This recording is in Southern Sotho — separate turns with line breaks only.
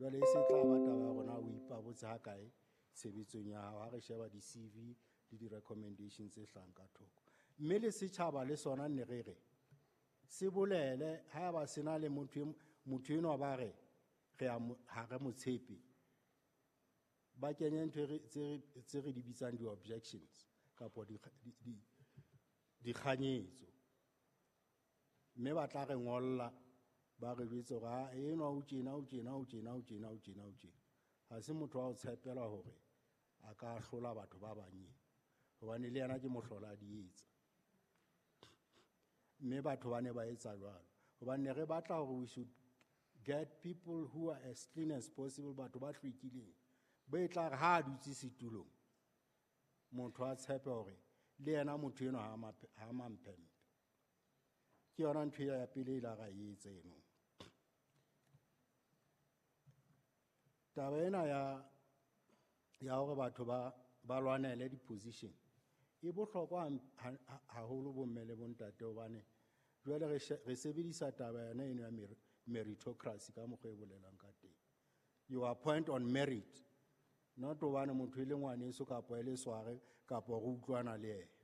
Jwale e se tla ba taba ya rona o ipabotse ha kae tshebetsong ya hao ha re sheba di-CV le di-recommendation tse hlahang ka thoko. Mme le setjhaba le sona ne re re se bolele haeba se na le motho motho enwa ba re re ha re mo tshepe, ba kenye ntho tse re di bitsang di-objections kapa dikganyetso, mme ba tla re ngolla ba re jwetse hore ha enwa o tjena, o tjena, o tjena, o tjena, o tjena, o tjena. Ha se motho wa ho tshepela hore a ka hlola batho ba bang, hobane le yena ke mohlola a di etsa. Mme batho ba ne ba etsa jwalo hobane ne re batla hore we should get people who are as clean as possible, batho ba hlwekileng, bo e tla re ha a dutse setulong motho a tshepe hore le yena motho enwa ha mamphempe. Ke yona ntho ya pele e la ra e etsa eno. Taba ena ya hore batho ba lwanele di-position e bohlokwa haholo bomme le bontate, hobane jwale re sebedisa taba yona eno ya meritocracy ka mokgwa e bolelang ka teng. You appoint on merit, not hobane motho e le ngwaneso kapa e le sware kapa re utlwana le yena.